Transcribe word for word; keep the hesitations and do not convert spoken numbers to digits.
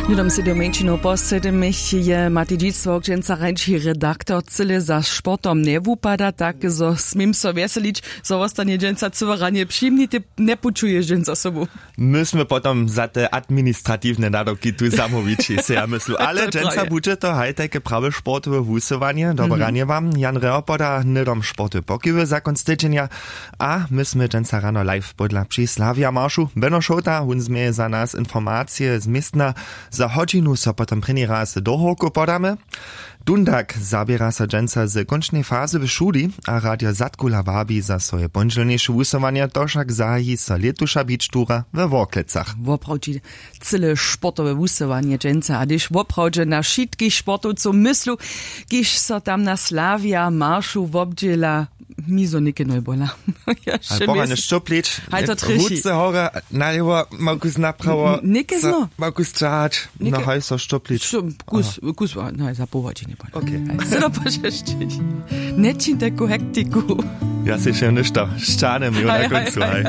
Hnydom sej do mjeńšinow po sedymich je Matej Dźic, wokdźensa rańši redaktor. Cyle za sportom njewupada tak, zo směm so wjeselić, zo wostanje dźensa cyłe ranje přimnite. Njepućuješ dźensa sobu. My smy potom za te administratiwne nadawki tu zamołwići, sej ja myslu, ale dźensa budźe to haj tajke prawe sportowe wusyłanje. Dobre ranje wam. Jan Reho poda hnydom sportowe pokiwy za kónc tydźenja. A my smy dźensa rano live podla při Slavia maršu. Beno Šołta, wón změje za nas informacije z městna. Za hodźinu so potom prěni raz do hórkow podamy. Dundak zaběra so dźensa z kónčnej fazy w šuli a radio zadkula wabi za swoje póndźelnjejše wusyłanje, to wšak zahaji so lětuša bić tura we worklecach. Woprawdźe cyle sportowe wusyłanje dźensa, a hdyž woprawdźe na wšitkich sportowcow myslu, kiž so tam na Slavia maršu wobdźěla, mi zo něke nojbola. Pochanje šćoplić. Haj to trješi. Ruce hora, nalewo, makus naprawo. Něke zno. Makus čahać. No haj so šćoplić. Kus, kus, no za połodźi njepola. Okay. Haj so dopožešćić. Nječiń taku hektiku. Ja sej še něšto šćanem jo na kóncu haj.